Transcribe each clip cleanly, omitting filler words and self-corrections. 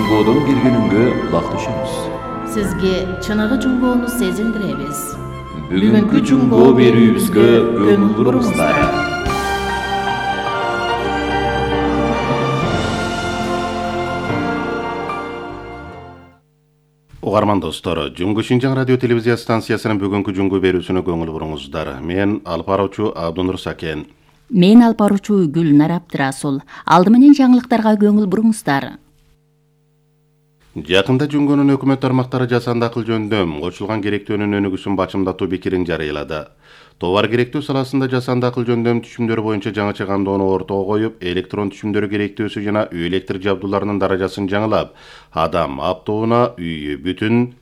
Жунгоодон киргенүнгө улакташабыз. Сизге чыныгы жунгоону сезилдиребиз. Бүгүнкү жунгоо берүүбүзгө көңүл буруңуздар. Угарман достор, Жунгу Шинжаң радио телевизия станциясынын бүгүнкү жунгу берүүсүнө көңүл буруңуздар. Мен алып баруучу Абдунур Сакен. Мен алып баруучу Гүлнар Абдырасул. Алды менен жаңылыктарга көңүл буруңуздар. Жакында Жунгонун өкмөт тармактары жасанды акыл жөндөм кошулган керектөөнүн өнүгүүсүн бачымдатуу пикирин жарыялады. Товар керектөө саласында жасанды акыл жөндөм түшүмдөрү боюнча жаңыча кандоону ортого коюп, электрон түшүмдөрү керектөөсү жана үй электр жабдууларынын даражасын жаңылап, адам аптоуна үйү бүтүн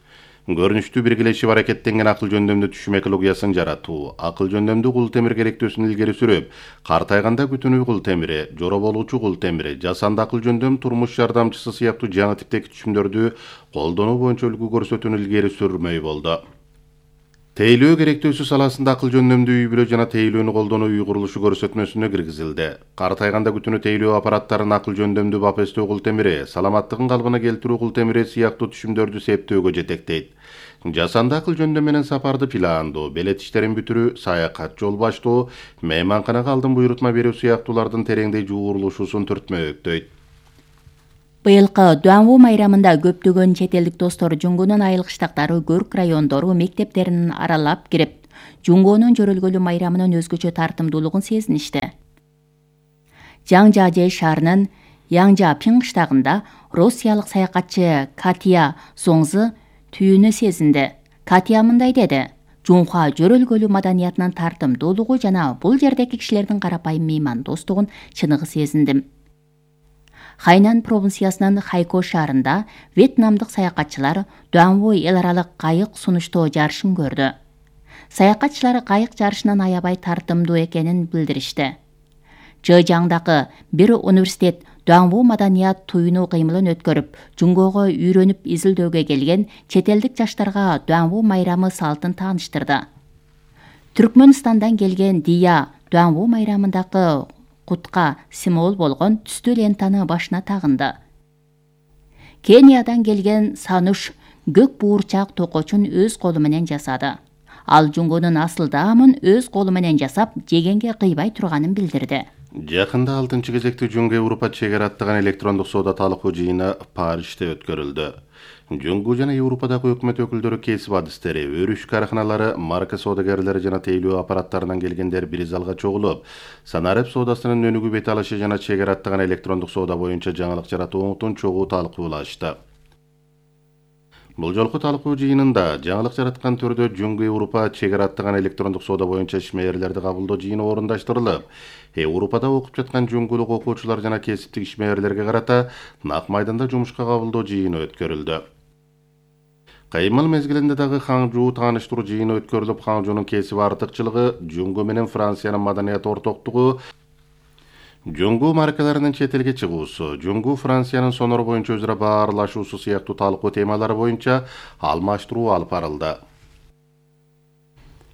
көрүнүштүү биргелешип аракеттенген акыл жөндөмдүү түшүм экологиясын жаратуу, акыл жөндөмдүү кул темир керектөөсүн илгери сүрүп, картайганда бүтүн үй кул темири, жоро болуучу кул темири, жасанды акыл жөндөм турмуш жардамчысы сыяктуу жаңы типтеги түшүмдөрдү колдонуу боюнча үлгү көрсөтүүнү илгери сүрмөй болду. Тейлөө керектөөсү саласында акыл жөндөмдүү үй бүлө жана тейлөөнү колдонуу үй курулушу көрсөтмөсүнө киргизилди. Картайганда күтүнү тейлөө аппараттарын акыл жөндөмдүү бапестөө кул темири, саламаттыгын калыбына келтирүү кул темири сыяктуу түшүмдөрдү септөөгө жетектейт. Жасанды акыл жөндөм менен сапарды пландоо, белет иштерин бүтүрүү, саякат жол баштоо, мейманканага алдын буйрутма берүү сыяктуулардын тереңдей жуурулушуусун түртмөктөйт. Быйылкы Дуанву майрамында көптөгөн чет элдик достор Жунгунун айыл кыштактары, көрк райондору мектептерин аралап кирип, Жунгонун жөрөлгөлүү майрамынын өзгөчө тартымдуулугун сезиништи. Жаңжажэ шаарынын Яңжапин кыштагында россиялык саякатчы Катя Соңзы түйүүнү сезинди. Катя мындай деди: Жунха жөрөлгөлүү маданиятынын тартымдуулугу жана бул жердеки кишилердин карапайым меймандостугун чыныгы сезиндим. Хайнан провинциясынын Хайко шаарында вьетнамдык саякатчылар Дуанву эл аралык кайык сунуштоо жарышын көрдү. Саякатчылар кайык жарышынын аябай тартымдуу экенин билдиришти. Жыжаңдагы бир университет Дуанву маданият туюну кыймылын өткөрүп, Жунгоого үйрөнүп изилдөөгө келген чет элдик жаштарга Дуанву майрамы салтын тааныштырды. Түркмөнстандан келген Дия Дуанву майрамындагы кутка символ болгон түстүү лентаны башына тагынды. Кениядан келген Сануш көк буурчак токочун өз колу менен жасады. Ал Жунгонун асыл даамын өз колу менен жасап, жегенге кыйбай турганын билдирди. Жакында 6-кезекти Жунгу Европа чек ара аттаган электрондук соода талкуу жыйыны Парижде өткөрүлдү. Жунгу жана Европадагы өкмөт өкүлдөрү, кесип адистери, өрүш караханалары, марка соодагерлери жана тейлөө аппараттарынан келгендер бир залга чогулуп, санарип соодасынын өнүгүү бет алышы жана чек ара аттаган электрондук соода боюнча жаңылык жаратууну чогуу талкуулашты. Бул жолку талкуу жыйынында жаңылык жараткан түрдө Жунгу Европа чек ара аттаган электрондук соода боюнча ишмерлерди кабылдоо жыйыны орундаштырылып, Европада окуп жаткан жунгулук окуучулар жана кесиптик ишмерлерге карата нак майданда жумушка кабылдоо жыйыны өткөрүлдү. Кыймыл мезгилинде дагы Хаңжуу тааныштыруу жыйыны өткөрүлүп, Хаңжуунун кесип артыкчылыгы, Жунгу менен Франциянын маданият ортоктугу, Жунгу маркаларынын чет элге чыгуусу, Жунгу Франциянын сонор боюнча өзара баарлашуусу сыяктуу талкуу темалары боюнча алмаштыруу алып барылды.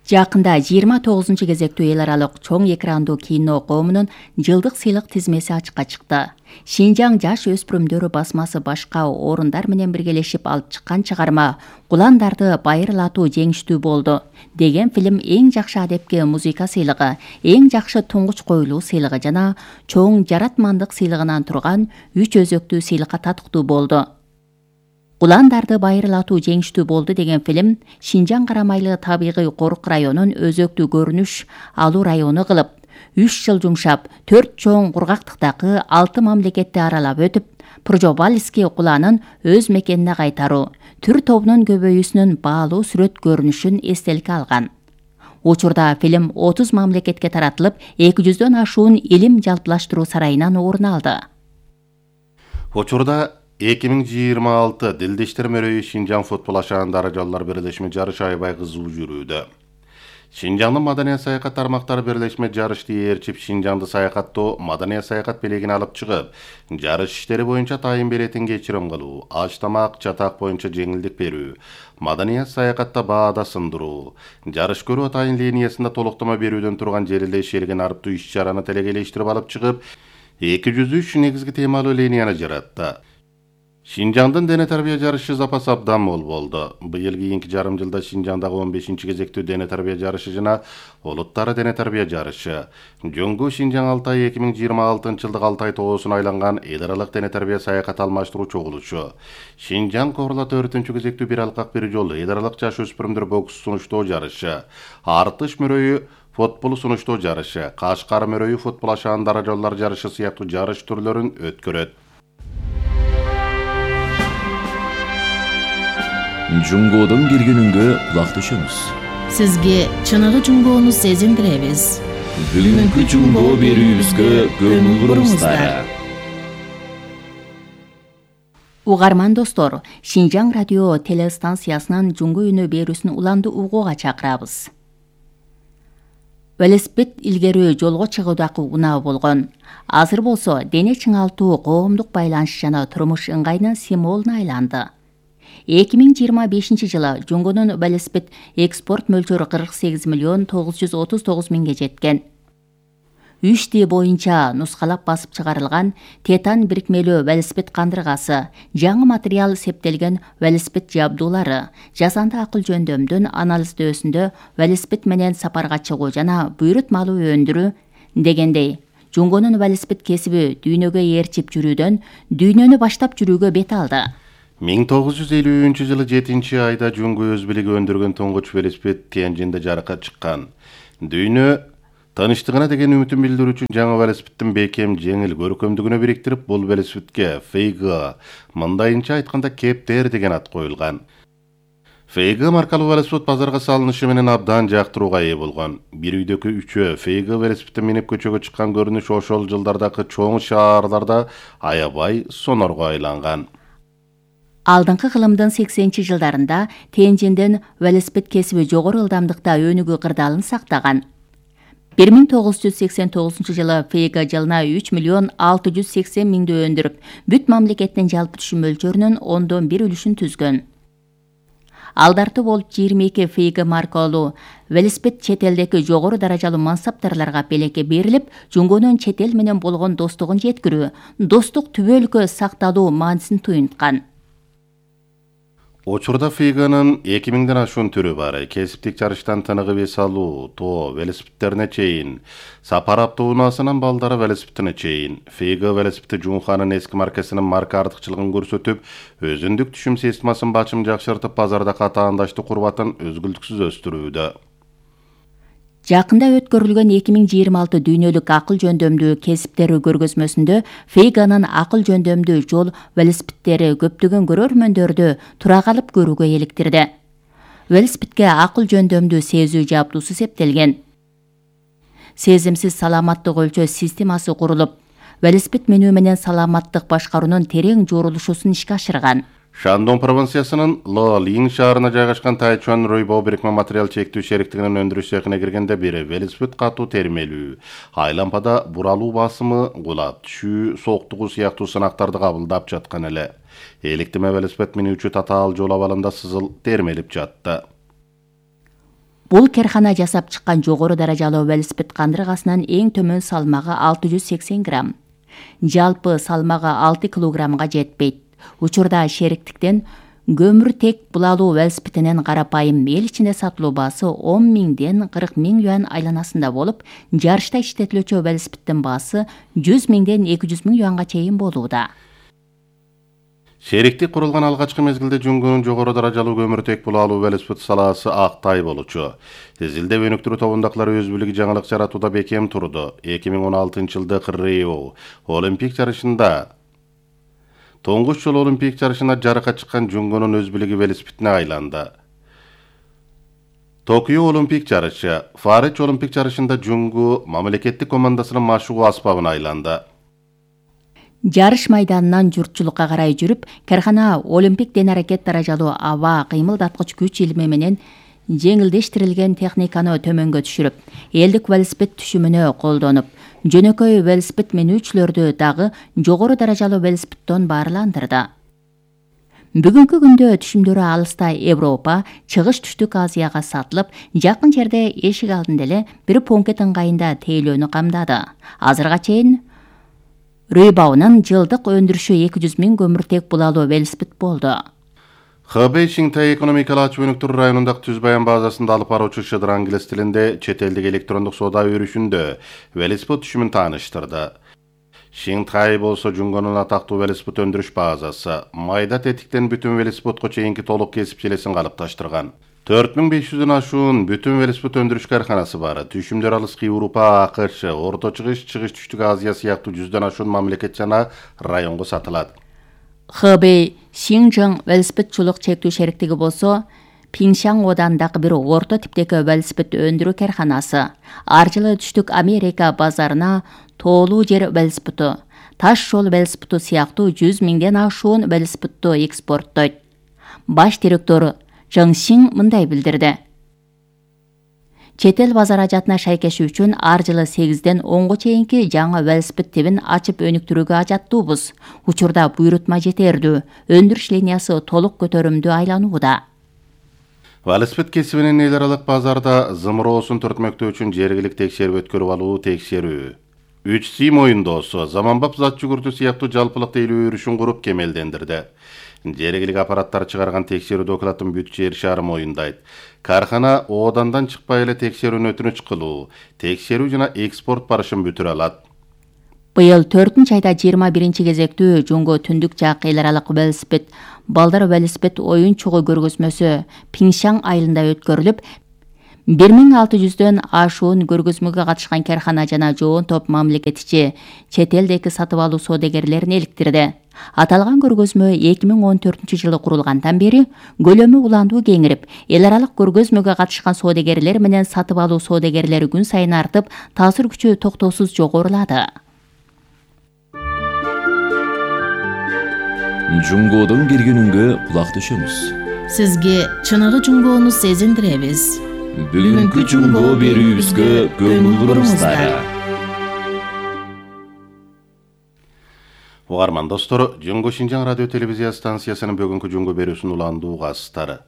Жакында 29-кезектүү эл аралык чоң экрандуу кино коомунун жылдык сыйлык тизмеси ачыкка чыкты. Шинжаң жаш өспүрүмдөр басмасы башка орундар менен биргелешип алып чыккан чыгарма Куландарды байырлатуу жеңиштүү болду деген фильм эң жакшы адепке музыка сыйлыгы, эң жакшы туңгуч коюлуу сыйлыгы жана чоң жаратмандык сыйлыгынан турган 3 өзөктүү сыйлыкка татыктуу болду. Куландарды байырлатуу жеңиштүү болду деген фильм Шинжаң карамайлы табигый корук районун өзөктүү көрүнүш алуу району кылып, 3 жыл жумшап, 4 чоң кургактыктагы 6 мамлекетти аралап өтүп, Пржобальский куланын өз мекенине кайтаруу, түр тобунун көбөйүүсүнүн баалуу сүрөт көрүнүшүн эстеликке алган. Учурда фильм 30 мамлекетке таратылып, 200дөн ашуун илим жалпылаштыруу сарайынан орун алды. Учурда 2026 Дилдештер мөрөйү Шинжаң футбол ашаан даражалуулар бирлешме жарышы аябай кызуу жүрүүдө. Шинжаңдын маданият саякат тармактары бирлешме жарышты ээрчип, Шинжаңды саякаттоо, маданият саякат белегин алып чыгып, жарыш иштери боюнча тайын беретин кечирим кылуу, аш тамак, чатак боюнча жеңилдик берүү, маданият саякатта баада сындыруу, жарыш көрүү атайын линиясында толуктама берүүдөн турган жерилде шерген арыптуу иш-чараны телегелештирип алып чыгып, 203 негизги темалуу линияны жаратты. Шинжаңдын дене тарбия жарышы запасы абдан мол болду. Быйыл кийинки жарым жылда Шинжаңдагы 15-кезектүү дене тарбия жарышы жана улуттары дене тарбия жарышы, Жөнгө Шинжаң Алтай 2026-жылдык Алтай тоосуна айланган эл аралык дене тарбия саякат алмаштыруу чогулушу, Шинжаң Корлат 4-кезектүү бир алкак бир жол эл аралык жаш өспүрүмдөр бокс сунуштоо жарышы, Артыш мөрөйү футбол сунуштоо жарышы, Кашкар мөрөйү футбол ашаан даражалар жарышы сыяктуу жарыш түрлөрүн өткөрөт. Жунгодун киргенүнгө кулак түшөмүз. Сизге чыныгы жунгоону сезиндиребиз. Бүгүнкү жунгоо берүүбүзгө көңүл буруңуздар. Угарман достор, Шинжаң радио телестанциясынан жунгу үнү берүүсүн уланды угууга чакырабыз. Велосипед илгери жолго чыгуудагы унаа болгон. Азыр болсо дене чыңалтуу коомдук байланыш жана турмуш ыңгайынын символуна айланды. 2025-жылы жунгунун велосипед экспорт мөлчөрү 48.939 миңге жеткен. 3D боюнча нускалап басып чыгарылган титан бирикмелүү велосипед кандыргасы, жаңы материал септелген велосипед жабдуулары, жасанды акыл жөндөмдүн анализдөөсүндө велосипед менен сапарга чыгуу жана буйрут малуу өндүрүү дегендей, жунгунун велосипед кесиби дүйнөгө ээрчип жүрүүдөн дүйнөнү баштап жүрүүгө бет алды. 1953-жылы 7-айда Жөнгө өз билиги өндүргөн туңгуч велосипед Тяньжинде жарыкка чыккан. Дүйнө тыныштыгына деген үмүтүн билдирүү үчүн жаңы велосипедтин бекем, жеңил көркөмдүгүнө бириктирип, бул велосипедке Фейга, мындайынча айтканда Кептер деген ат коюлган. Фейга маркалуу велосипед базарга салынышы менен абдан жактырууга ээ болгон. Бир үйдөгү үчөө Фейга велосипедти минип көчөгө чыккан көрүнүш ошол жылдардагы чоң шаарларда аябай сонорго айланган. Алдыңкы кылымдын 80-жылдарында Тяньжинден велосипед кесиби жогору ылдамдыкта өнүгүү кырдаалын сактаган. 1989-жылы Фейга жылына 3.680.000 өндүрүп, бүт мамлекеттин жалпы түшүм мөлчөрүнүн 1/10 үлүшүн түзгөн. Алдарты болуп 22 Фейга маркалуу велосипед чет элдеги жогору даражалуу мансаптарларга белекке берилип, жунгунун чет эл менен болгон достугун жеткирүү, достук түбөлүккө сакталуу маанисин туюнткан. Учурда Фейганын 2000ден ашуун түрү бар. Кесиптик жарыштан тыныгып эс алуу, тоо велосипедтерине чейин, сапар автоунаасынан балдары велосипедине чейин. Фейга велосипеди Жунханын эски маркасынын марка артыкчылыгын көрсөтүп, өзүндүк түшүм системасын бачым жакшыртып, базарда катаандаштык курбатын өзгүлтүксүз өстүрүүдө. Жакында өткөрүлгөн 2026 дүйнөлүк акыл жөндөмдүү кесиптери көргөзмөсүндө Фейганын акыл жөндөмдүү жол велосипедтери көптөгөн көрөрмөндөрдү тура калып көрүүгө эликтирди. Велосипедке акыл жөндөмдүү сезүү жабдуусу септелген. Сезимсиз саламаттык өлчөө системасы курулуп, велосипед менүү менен саламаттык башкаруунун терең жорулушусун ишке ашырган. Шандон провинциясынын Лолин шаарына жайгашкан Тайчуан Ройбо бирикме материал чектүү шериктигинин өндүрүш цехине киргенде бири велосипед катуу термелүү, айлампада буралуу басымы, кулап түшүү, сооктугу сыяктуу сынактарды кабылдап жаткан эле. Эликтиме велосипед минүүчү татаал жол абалында сызыл термелип жатты. Бул керхана жасап чыккан жогору даражалуу велосипед кандыргасынын эң төмөн салмагы 680 грамм. Жалпы салмагы 6 килограммга жетпейт. Учурда шериктиктен көмүр тек булалуу велосипединин карапайым эл ичинде сатылуу баасы 10 миңден 40 миң юан айланасында болуп, жарышта иштетилүүчү велосипеддин баасы 100 миңден 200 миң юанга чейин болууда. Шериктик курулган алгачкы мезгилде Жунгунун жогору даражалуу көмүртек булалуу велосипед салаасы актай болчу. Изилдеп өнүктүрүү тобундагылар өз билиги жаңылык жаратууда бекем турду. 2016-жылдык Рио Олимпик жарышында Тоңгуч жол Олимпик жарышына жарыкка чыккан Жунгунун өз билиги велосипедине айланды. Токио Олимпик жарышы, Фарич Олимпик жарышында Жунгу мамлекеттик командасынын машыгуу аспабына айланды. Жарыш майданынан журтчулукка карай жүрүп, кархана Олимпик ден аракет даражалуу аба кыймылдаткыч күч илими менен жеңилдештирилген техниканы төмөнгө түшүрүп, элдик велосипед түшүмүнө колдонуп, жөнөкөй велосипед менүүчүлөрдү дагы жогору даражалуу велосипедден баарландырды. Бүгүнкү күндө түшүмдөрү алыста Европа, чыгыш түштүк Азияга сатылып, жакын жерде эшик алдында эле бир пункт ыңгайында тейлөөнү камдады. Азырга чейин Рүйбаунун жылдык өндүрүшү 200 000 көмүртек булалуу велосипед болду. Хэбэй Шинтай экономикалык ачып өнүктүрүү районундагы түз баян базасында алып баруучу Шыдыр англис тилинде чет элдик электрондук соода өрүшүндө велосипед түшүмүн тааныштырды. Шинтай болсо Жунгонун атактуу велосипед өндүрүш базасы. Майда тетиктен бүтүн велосипедко чейинки толук кесип желесин калыпташтырган. 4500дөн ашуун бүтүн велосипед өндүрүш карханасы бар. Түшүмдөр алыскы Европа, АКШ, Орто Чыгыш, Чыгыш Түштүк Азия сыяктуу 100дөн ашуун мамлекет жана районго сатылат. Хэбэй Шинжаң велосипедчулук чектүү шериктиги болсо, Пиңшаң оодандагы бир орто типтеги велосипед өндүрүү карханасы. Ар жылы Түштүк Америка базарына тоолуу жер велосипеди, таш жол велосипеди сыяктуу 100 000ден ашуун велосипедди экспорттойт. Баш директор Жың Сиң мындай билдирди. Чет эл базар ажатына шайкеш үчүн ар жылы 8ден 10го чейинки жаңы велосипед тибин ачып өнүктүрүүгө ажаттуубуз. Учурда буйрутма жетердүү, өндүрүш линиясы толук көтөрүмдүү айланууда. Велосипед кесибинин эл аралык базарда зымыроосун түртмөктөө үчүн жергилик текшерип өткөрүп алуу текшерүү. 3C моюндоосу, заманбап зат жүгүртүү сыяктуу жалпылык тейлөө өрүшүн куруп кемелдендирди. Жергилик аппараттар чыгарган текшерүү докладын бүт жер шаары моюндайт. Кархана оодандан чыкпай эле текшерүүнү өтүнүч кылуу, текшерүү жана экспорт барышын бүтүрө алат. Быйыл 4-айда 21 кезектүү Жунго түндүк жак эл аралык велосипед балдар велосипед оюн чогуу көргөзмөсү Пиңшаң айылында өткөрүлүп, 1600дөн ашуун көргөзмөгө катышкан кархана жана жоон топ мамлекетчи чет элдеги сатып алуу соодагерлерин эликтирди. Аталган көргөзмө 2014-жылы курулгандан бери көлөмү уландуу кеңирип, эл аралык көргөзмөгө катышкан соодагерлер менен сатып алуу соодагерлери күн сайын артып, таасир күчү токтоосуз жогорулады. Жунгодун киргенүнгө кулак түшөмүз. Сизге чыныгы жунгоону сезиндиребиз. Бүгүнкү жунгоо берүүбүзгө көңүл буруңуздар. Угарман достор, Жунго Шинжаң радио телевизия станциясынын бүгүнкү жунгоо берүүсүн уландуу кастары.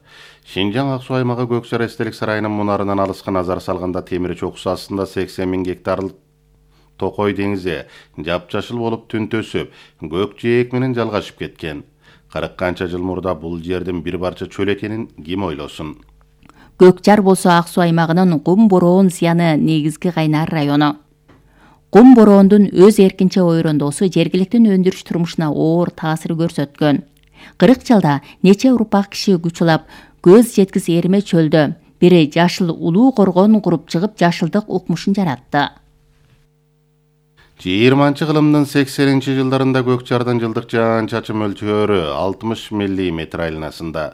Шинжаң Ак Суу аймагы Көксар эстелик сарайынын мунарынан алыска назар салганда темир чокусу астында 80 000 гектарлык Токой деңизи жапжашыл болуп түнтөсүп, көк жээк менен жалгашып кеткен. 40 канча жыл мурда бул жердин бир барча чөл экенин ким ойлосун? Көкжар болсо Ак Суу аймагынын Кум Бороон зыяны негизги кайнар району. Кум Бороондун өз эркинче ойрондоосу жергиликтин өндүрүш турмушуна оор таасир көрсөткөн. 40 жылда нече урпак киши күч улап, көз жеткис эрме чөлдө бири жашыл улуу коргон куруп чыгып жашылдык укмушун жаратты. 20-кылымдын 80-жылдарында Көкжардын жылдык жаан-чачын мөлчөрү 60 мм айланасында.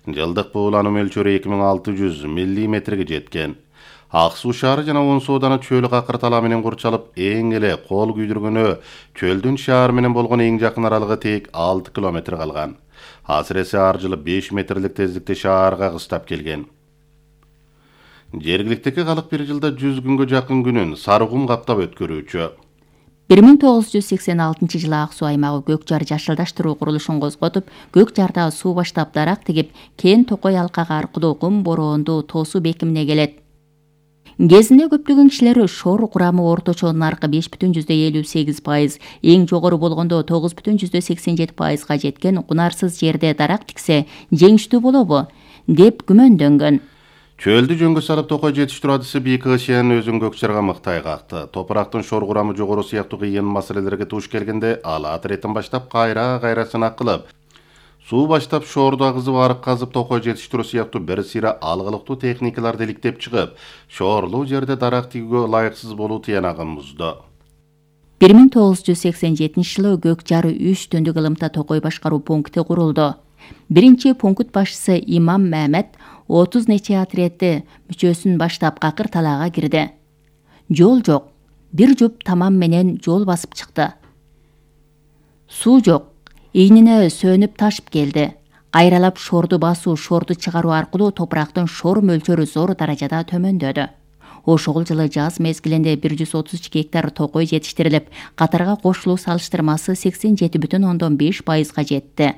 Жылдык буулануу мөлчөрү 2600 мм жеткен. Ак Суу шаары жана он сооданы чөл какыр тала менен курчалып, эң эле кол күйдүргөнү чөлдүн шаар менен болгон эң жакын аралыгы тек 6 км калган. Асыресе ар жылы 5 метрлик тездикте шаарга кыстап келген. Жергиликтеги калык бир жылда 100 күнгө жакын күнүн сарыгум каптап өткөрүүчү. 1986 жылы Ак Суу аймагы Көкжар жашылдаштыруу курулушун козготуп, Көкжарда суу баштап дарак тигип, Кен Токой алкагы аркылуу Кум Бороонду тоосуу бекимине келет. Кезинде көптөгөн кишилер шор курамы орточо наркы 5,58%, эң жогору болгондо 9,87%га жеткен кунарсыз жерде дарак тиксе жеңиштүү болобу деп күмөндөнгөн. Чөлдү жөнгө салып токой жетиштирүү адысы бийик ышен өзүн Көкжарга мыктай какты. Топурактын шор курамы жогору сыяктуу кыйын маселелерге туш келгенде ал атыретін баштап кайра сынак суу баштап шоорду агызып арык казып токой жетиштирүү сыяктуу бир сыйра алгылыктуу техникаларды иликтеп чыгып, шоорлуу жерде дарак тигүүгө ылайыксыз болуу тыянагын бузду. 1987 жылы Көкжар 3 түндүк ылымта токой башкаруу пункти курулду. Биринчи пункт башчысы Имам Мамет 30 нече отрядты мүчөсүн баштап какыр талаага кирди. Жол жок. Бир жуп тамам менен жол басып чыкты. Суу жок. Ийнине сөнүп ташып келди. Кайралап шорду басуу, шорду чыгаруу аркылуу топурактын шор мөлчөрү зор даражада төмөндөдү. Ошол жылы жаз мезгилинде 132 гектар токой жетиштирилип, катарга кошулуу салыштырмасы 87,5%га жетти.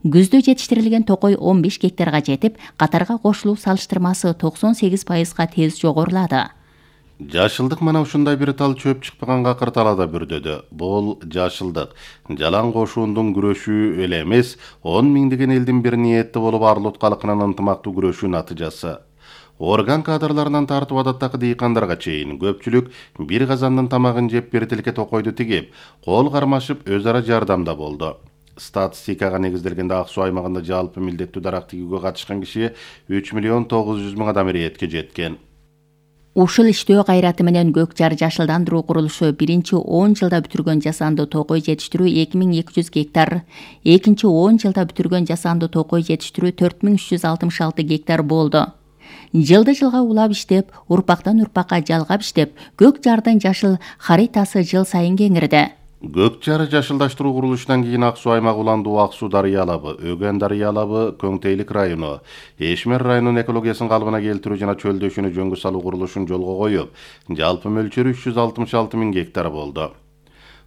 Күздө жетиштирилген токой 15 гектарга жетип, катарга кошулуу салыштырмасы 98%га тез жогорулады. Жашылдык мана ушундай бир тал чөп чыкпаган какыр талаада бүрдөдү. Бул жашылдык жалаң кошуундун күрөшүү эле эмес, 10 миңдеген элдин бир ниетти болуп Арлут калкынын ынтымактуу күрөшүү натыйжасы. Орган кадрларынан тартып адаттагы дыйкандарга чейин көпчүлүк бир казандын тамагын жеп бир тилке токойду тигип, кол кармашып өз ара жардамда болду. Статистикага негизделгенде Ак Суу аймагында жалпы милдеттүү дарак тигүүгө катышкан киши 3 миллион 900 миң адам иретке жеткен. Ушул иштөө кайраты менен Көк Жар жашылдандыруу курулушу биринчи 10 жылда бүтүргөн жасанды токой жетиштирүү 2200 гектар, экинчи 10 жылда бүтүргөн жасанды токой жетиштирүү 4366 гектар болду. Жылды жылга улап иштеп, урпактан урпакка жалгап иштеп, Көк Жардын жашыл харитасы жыл сайын кеңирди. Көк Жар жашылдаштыруу курулушунан кийин Ак Суу аймагы уландуу Ак Суу дарыя алабы, Өгөн дарыя алабы, Көңтейлик району, Эшмер районунун экологиясын калыбына келтирүү жана чөлдөшүүнү жөнгө салуу курулушун жолго коюп, жалпы мөлчөрү 366 миң гектар болду.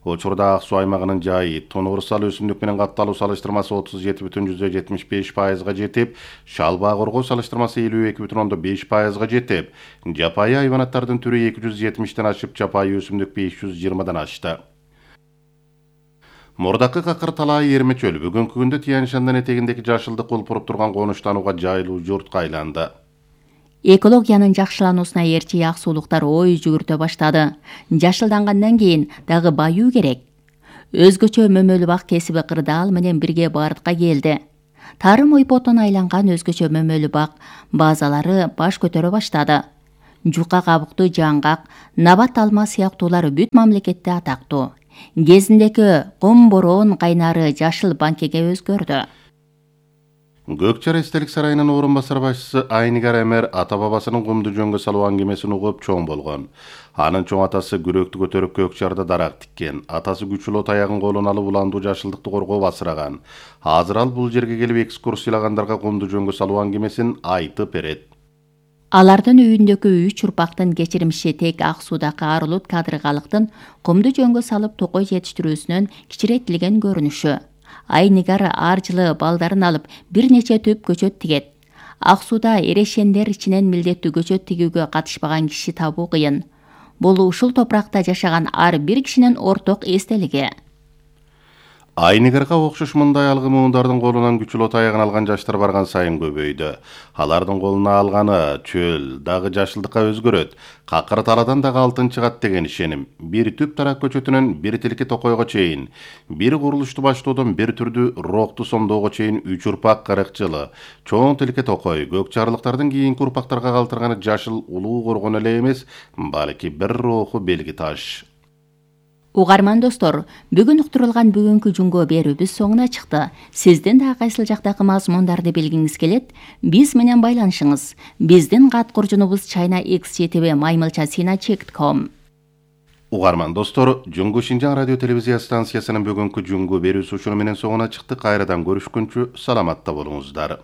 Учурда Ак Суу аймагынын жайы тонуурсал өсүмдүк менен капталуу салыштырмасы 37,75%га жетип, шалбаа коргоо салыштырмасы 52,5%га жетип, жапайы хайванаттардын түрү 270ден ашып, жапайы өсүмдүк 520дан ашты. Мурдакы какыр талаа Эрме чөл бүгүнкү күндө Тянь Шаньдан этегиндеки жашылдык кулпуруп турган конуштанууга жайлуу журтка айланды. Экологиянын жакшылануусуна ээрчи ак суулуктар ой жүгүртө баштады. Жашылдангандан кийин дагы баюу керек. Өзгөчө мөмөлүү бак кесиби кырдаал менен бирге бардыкка келди. Тарым ойпотон айланган өзгөчө мөмөлүү бак базалары баш көтөрө баштады. Жука кабыктуу жаңгак, набат алма сыяктуулар бүт мамлекетте атактуу. Кезиндеги кум бороон кайнары жашыл банкеге өзгөрдү. Көк Жар эстелик сарайынын орун басар башчысы Айнигар Эмер ата бабасынын кумду жөнгө салуу аңгемесин угуп чоң болгон. Анын чоң атасы күрөктү көтөрүп Көк Жарда дарак тиккен. Атасы күчүлүү таягын колуна алып уландуу жашылдыкты коргоп асыраган. Азыр ал бул жерге келип экскурсиялагандарга кумду жөнгө салуу аңгемесин айтып берет. Алардын үйүндөгү 3 урпактын кечирмиши тек Ак Суудагы Арлут кадыргалыктын кумду жөнгө салып токой жетиштирүүсүнөн кичирейтилген көрүнүшү. Айнигар ар жылы балдарын алып бир нече түп көчөт тигет. Ак Сууда эрешендер ичинен милдеттүү көчөт тигүүгө катышпаган киши табуу кыйын. Бул ушул топуракта жашаган ар бир кишинин орток эстелиги. Айнигарга окшош мындай алгы муундардын колунан күчүлүү таягын алган жаштар барган сайын көбөйдү. Алардын колуна алганы чөл дагы жашылдыкка өзгөрөт. Какыр талаадан дагы алтын чыгат деген ишеним. Бир түп тарак көчөтүнөн бир тилке токойго чейин, бир курулушту баштоодон бир түрдүү рокту сомдоого чейин 3 урпак 40 жылы. Чоң тилке токой Көк Жарлыктардын кийинки урпактарга калтырганы жашыл улуу коргон эле эмес, балки бир руху белги таш. Угарман достор, бүгүн уктурулган бүгүнкү жумго берүүбүз соңуна чыкты. Сиздин да кайсыл жактагы мазмундарды билгиңиз келет, биз менен байланышыңыз. Биздин кат куржунубуз chinaxgtv@maymilcha.com. Угарман достор, Жуңгу Шинжаң радио телевизия станциясынын бүгүнкү жумгу берүүсү ушуну менен соңуна чыкты. Кайрадан көрүшкүнчү саламатта болуңуздар.